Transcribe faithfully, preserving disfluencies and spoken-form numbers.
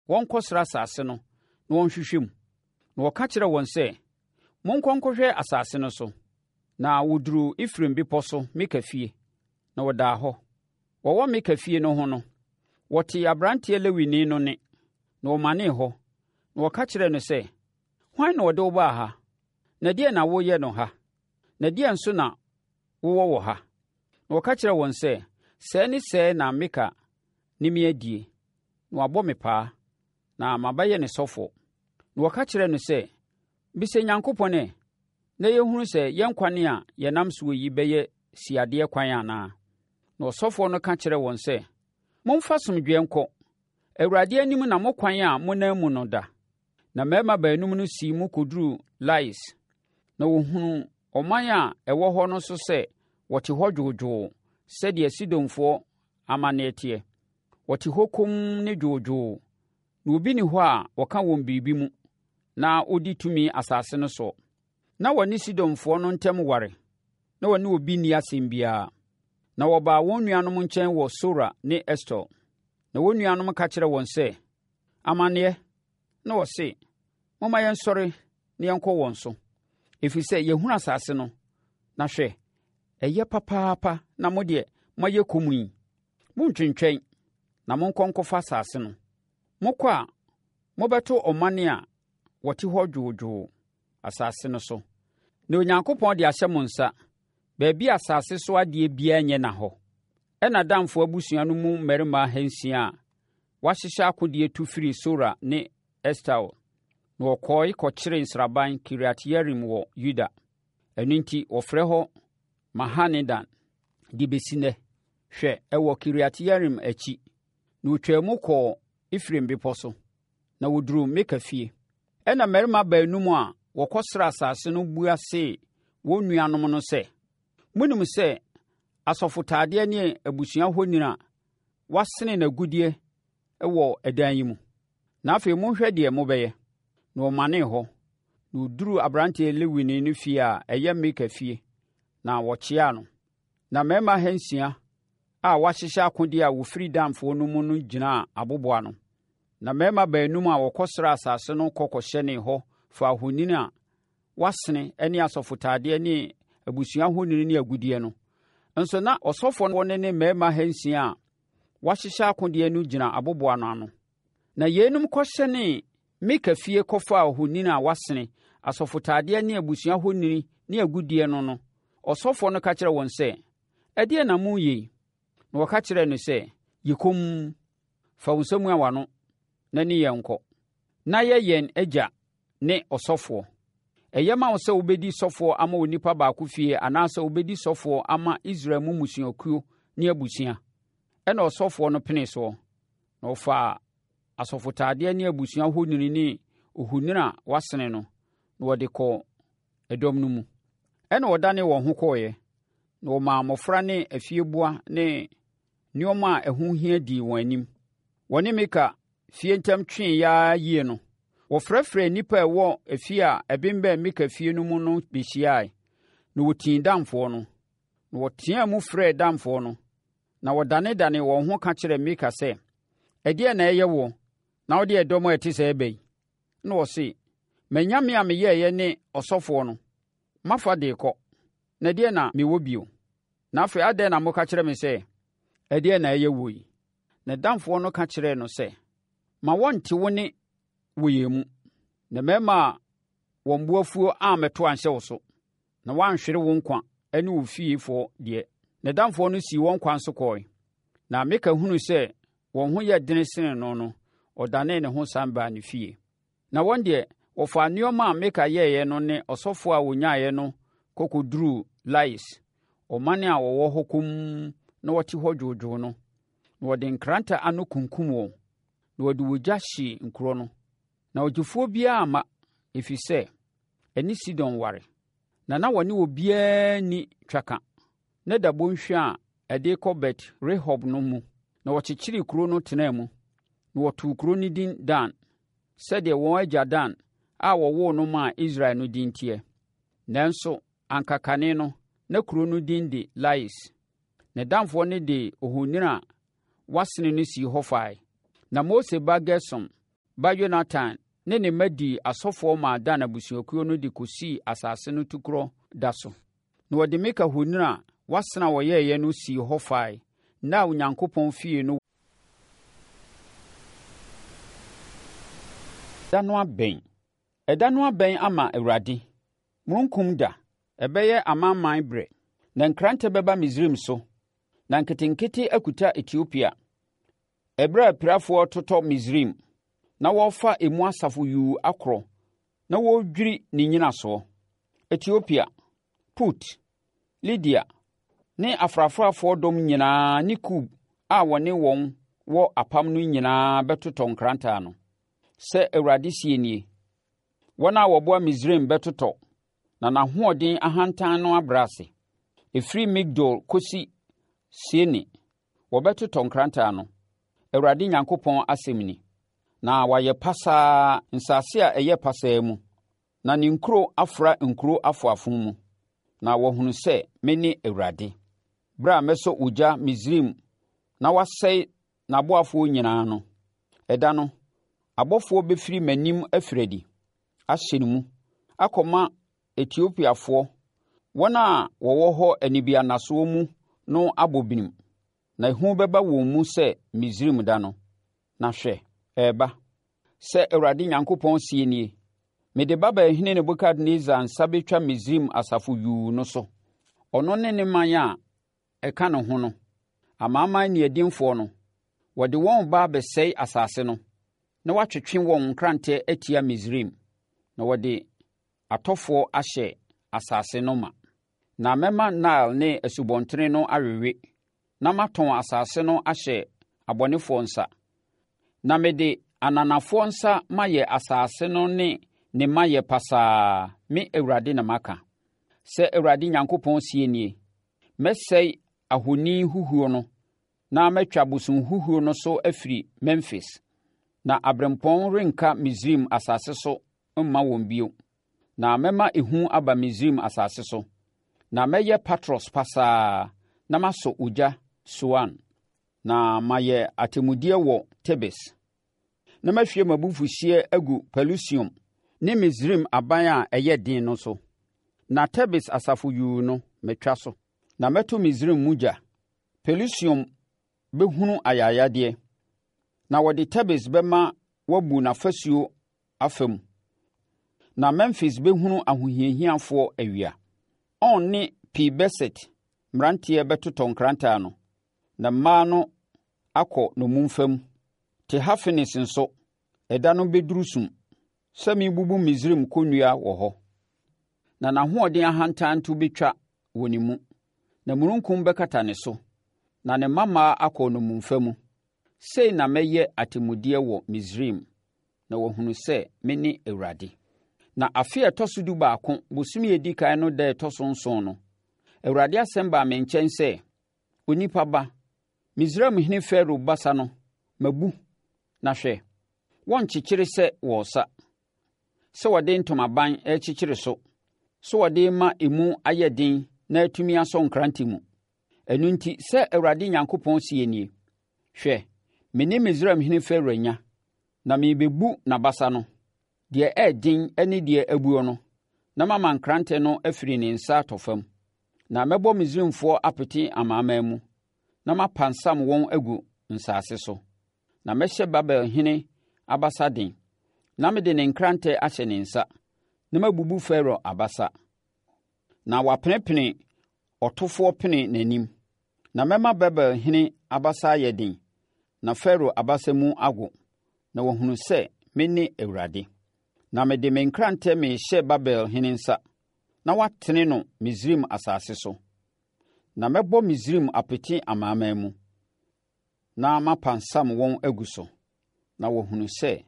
wɔnkɔsra asase no na wɔnhwehwɛ mu. Na wɔka kyerɛɛ wɔn sɛ, Monkɔ nkɔhwɛ asase no so. Na wɔduruu Efraim bepɔ so Mika fie, na wɔdaa hɔ. Wɔwɔ Mika fie no ho no, wɔtee aberanteɛ Lewini no nne, na wɔmanee hɔ, na wɔka kyerɛɛ no sɛ, Hwan na ɔde wo baa ha? Na ɛdeɛn na woreyɛ no ha? Na ɛdeɛn nso na wowɔ wɔ ha? Na wɔka kyerɛɛ wɔn sɛ, Sɛɛ ne sɛɛ na Mika ne me adie, na wabɔ me paa, na mabɛyɛ ne sɔfoɔ. Na wɔka kyerɛɛ no sɛ, Bisa Nyankopɔn ɛ, na yɛhunu sɛ yɛn kwan a yɛnam soɔ yi bɛyɛ siadeɛ kwan anaa? Na ɔsɔfoɔ no ka kyerɛɛ wɔn sɛ, Momfa asomdwoeɛ nkɔ. Awurade anim na mo kwan a monam mu no da. Na mmarima baanum no sii mu kɔduruu Lais, na wɔhunuu ɔman a ɛwɔ hɔ no nso sɛ wɔte hɔ dwoodwoo sɛdeɛ Sidonfoɔ amanneɛ teɛ. Wɔte hɔ komm ne dwoodwoo, na obi nni hɔ a ɔka wɔn biribi mu na ɔdi tumi asase no soɔ. Na wɔne Sidonfoɔ no ntam ware, na wɔne obi nni asɛm biara. Na wɔbaa wɔn nuanom nkyɛn wɔ Sora ne Estaol. Na wɔn nuanom ka kyerɛɛ wɔn sɛ, Amanneɛ! Na wɔse, Momma yɛnsɔre na yɛnkɔ wɔn so, ɛfiri sɛ yɛahunu asase no, na hwɛ, ɛyɛ papaapa na mo deɛ moayɛ komm yi. Monntwentwɛn, na monkɔ nkɔfa asase no. Mokɔ a, mobɛto ɔman a wɔte hɔ dwoodwoo asase no so, na Onyankopɔn de ahyɛ mo nsa, baabi a asase so adeɛ biara nyɛ na hɔ. Ɛnna Danfoɔ abusua no mu mmarima ahansia a wɔahyehyɛ akodeɛ tu firii Sora ne Estaol, na wɔkɔe kɔkyeree nsraban Kiriat-Yearim wɔ Yuda. Ɛno nti wɔfrɛ hɔ Mahane-Dan de bɛsi nnɛ. Hwɛ, ɛwɔ Kiriat-Yearim akyi. Na wɔtwaa mu kɔɔ Efraim bepɔ so, na wɔduruu Mika fie. Ɛnna mmarima baanum a wɔkɔsraa asase no bua see wɔn nuanom no sɛ, Monim sɛ asɔfotadeɛ ne abusua honi a wɔasene n'agudeɛ wɔ ɛdan yi mu. Na afei monhwɛ deɛ mobɛyɛ. Na wɔmanee hɔ, na wɔduruu aberanteɛ Lewini no fie a ɛyɛ Mika fie, na wɔkyeaa no. Na mmarima ahansia a wɔahyehyɛ akodeɛ a wɔfiri Danfoɔ no mu no gyinaa aboboano. Na mmarima baanum a wɔkɔsraa asase no kɔ kɔhyɛnee hɔ faa ohoni a wɔasene ne asɔfotadeɛ ne abusua honi ne agudeɛ no. Nso na ɔsɔfoɔ no ne mmarima ahansia a wɔahyehyɛ akodeɛ no gyina aboboano ano. Na yeinom kɔhyɛnee Mika fie kɔfaa ohoni a wɔasene, asɔfotadeɛ ne abusua honi ne agudeɛ no no, ɔsɔfoɔ no ka kyerɛɛ wɔn sɛ, Ɛdeɛn na moreyɛ yi? Na wɔka kyerɛɛ no sɛ, Yɛ komm! Fa wo nsa mua w'ano na ne yɛn nkɔ, na yɛ yɛn agya ne ɔsɔfoɔ. Ɛyɛ ma wo sɛ wobɛdi sɔfoɔ ama onipa baako fie anaasɛ wobɛdi sɔfoɔ ama Israel mu mmusuakuo ne abusua? Ɛnna ɔsɔfoɔ no penee soɔ, na ɔfaa asɔfotadeɛ ne abusua honini ne ohoni a wɔasene no, na wɔde kɔɔ ɛdɔm no mu. Ɛnna wɔdanee wɔn ho kɔeɛ, na wɔmaa mmɔfra ne afieboa ne nneɛma a ɛho hia dii wɔn anim. Wɔne Mika fie ntam tweeɛ ara yie no, wɔfrɛfrɛɛ nnipa a ɛwɔ efie a ɛbemmɛn Mika fie no mu no bɛhyiae, na wɔtii Danfoɔ no. Na wɔteaa mu frɛɛ Danfoɔ no, Na wɔdanedanee wɔn ho ka kyerɛɛ Mika sɛ, Ɛdeɛn na ɛyɛ woɔ, na wode ɛdɔm a ɛte sɛɛ reba yi? Ɛnna ɔse, M'anyame a meyɛeɛ ne ɔsɔfoɔ no, mafa de rekɔ, na ɛdeɛn na mewɔ bio? Na afei adɛn na moka kyerɛ me sɛ, 'Ɛdeɛn na ɛyɛ woɔ yi? Na Danfoɔ no ka kyerɛɛ no sɛ, Ma wɔnte wo nne wɔ yɛn mu, na mmarima a wɔn bo afuo ammɛto anhyɛ wo so. na woanhwere wo nkwa ne wo fiefoɔ deɛ. Ne damfoɔ no sii wɔn kwan so kɔɔe. Na Mika hunuu sɛ wɔn ho yɛ dene sene no no, ɔdanee ne ho san baa ne fie. Na wɔn deɛ, wɔfaa nneɛma a Mika yɛeɛ no ne ɔsɔfoɔ a wɔnyaeɛ no kɔkɔduruu Lais, ɔman a wɔwɔ hɔ komm na wɔte hɔ dwoodwoo no, na wɔde nkrantɛ ano kunkum wɔn, na wɔde ogya hyee nkuro no. Na ɔgyefoɔ biara amma, ɛfiri sɛ ɛne Sidon ware, na na wɔne obiara nni twaka. Na da bɔnhwa a ɛde kɔ Bet-Rehob no mu, na wɔkyekyeree kuro no tenaa mu, na wɔtoo kuro no din Dan, sɛdeɛ wɔn agya Dan a wɔwoo no maa Israel no din teɛ. Nanso anka kane no, na kuro no din de Lais. Na Danfoɔ no de ohoni a wɔasene no sii hɔ fae. Na Mose ba Gersom ba Yonatan ne ne mma dii asɔfoɔ maa Dan abusuakuo no de kɔsii asase no tukorɔ da so. Na wɔde Mika honi a wɔasene a wɔyɛeɛ no sii hɔ fae, nna a Onyankopɔn fie no Da no abɛn. Ɛda no abɛn ama Awurade, mununkum da. Ɛbɛyɛ amanaman berɛ. Na nkrantɛ bɛba Misraim so, na nketenkete akuta Etiopia. Ɛberɛ a apirafoɔ retotɔ Misraim, na wɔrefa emu asafo yuu akorɔ, na wɔredwiri ne nnyinasoɔ. Etiopia, Put, Lidia ne afrafrafoɔ dɔm nyinaa ne Kub a wɔne wɔn wɔ apam no nyinaa bɛtotɔ nkrantɛ ano. Sɛ Awurade seɛ nie, wɔn a wɔboa Misraim bɛtotɔ, na n'ahoɔden ahantan no abrɛ ase. Ɛfiri Migdol kɔsi Siene, wɔbɛtotɔ nkrantɛ ano. Awurade Nyankopɔn asɛm ni. Na wɔayɛ pasaa nsase a ɛyɛ pasaa mu, na ne nkuro afra nkuro afoafo mu, na wɔahunu sɛ mene Awurade. Berɛ a mɛsɔ ogya Misraim na wasɛe n'aboafoɔ nyinaa no, ɛda no, abɔfoɔ bɛfiri m'anim afiri adi ahyɛ ne mu akɔma Etiopiafoɔ, wɔn a wɔwɔ hɔ anibiannasoɔ mu no abɔ binim, na ehu bɛba wɔn mu sɛ Misraim da no. Na hwɛ, ɛreba. Sɛ Awurade Nyankopɔn seɛ nie, mede Babelhene Nebukadnessar nsa bɛtwa Misraim asafo yuu no so. Ɔno ne ne man a ɛka ne ho no, amanaman nniadinfoɔ no, wɔde wɔn reba abɛsɛe asase no, na wɔatwetwe wɔn nkrantɛ atia Misraim, na wɔde atɔfoɔ ahyɛ asase no ma. Na mɛma Nile ne asubɔntene no awewe, na matɔn asase no ahyɛ abɔnefoɔ nsa. Na mede ananafoɔ nsa mayɛ asase no ne ne mayɛ pasaa, me Awurade na maka. Sɛ Awurade Nyankopɔn seɛ nie, mɛsɛe ahoni huhuo no, na matwa abosomhuhuo no so afiri Memfis. Na aberempɔn renka Misraim asase so mma wɔn bio. Na mɛma ehu aba Misraim asase so. Na mɛyɛ Patros pasaa, na masɔ ogya Soan. Na mayɛ atemmudeɛ wɔ Tebes. Na mahwie m'abufuhyeɛ agu Pelusium ne Misraim aban a ɛyɛ den no so. Na Tebes asafo yuu no, matwa so. Na mɛto Misraim mu gya. Pelusium bɛhunu ayayadeɛ. Na wɔde Tebes bɛma wabu n'afasuo afa mu. Na Memfis bɛhunu ahohiahiafoɔ awia. On ne Pi-Beset mmeranteɛ bɛtotɔ nkrantɛ ano, na mmaa no akɔ nnommumfa mu. Tehafenes nso, ɛda no bɛduru sum, sɛ merebubu Misraim kɔnnua wɔ hɔ. Na n'ahoɔden ahantan to bɛtwa wɔ ne mu, na mununkum bɛkata ne so, na ne mmammaa akɔ nnommumfa mu. Sei na mɛyɛ atemmudeɛ wɔ Misraim, na wɔahunu sɛ mene Awurade. Na afe a ɛtɔ so dubaako, bosome a ɛdi kan no da a ɛtɔ so nson no, Awurade asɛm baa me nkyɛn sɛ, Onipa ba, Misraimhene Farao basa no, mabu, na hwɛ, wɔnkyekyere sɛ wɔresa, sɛ wɔde ntomaban rekyekyere so, sɛ wɔde rema emu ayɛ den na atumi asɔ nkrante mu. Ɛno nti, sɛ Awurade Nyankopɔn seɛ nie, hwɛ, me ne Misraimhene Farao anya, na merebɛbu n'abasa no, deɛ ɛyɛ den ne deɛ abuo no, na mama nkrantɛ no afiri ne nsa atɔ fam. Na mɛbɔ Misraimfoɔ apete amanaman mu, na mapansam wɔn agu nsase so. Na mɛhyɛ Babelhene abasa den, na mede ne nkrantɛ ahyɛ ne nsa, na mabubu Farao abasa. Na wapenepene ɔtofoɔ pene n'anim. Na mɛma Babelhene abasa ayɛ den, na Farao abasa mu ago, na wɔahunu sɛ mene Awurade. Na mede me nkrantɛ merehyɛ Babelhene nsa, na watene no Misraim asase so. Na mɛbɔ Misraim apete amanaman mu, na mapansam wɔn agu so, na wɔahunu sɛ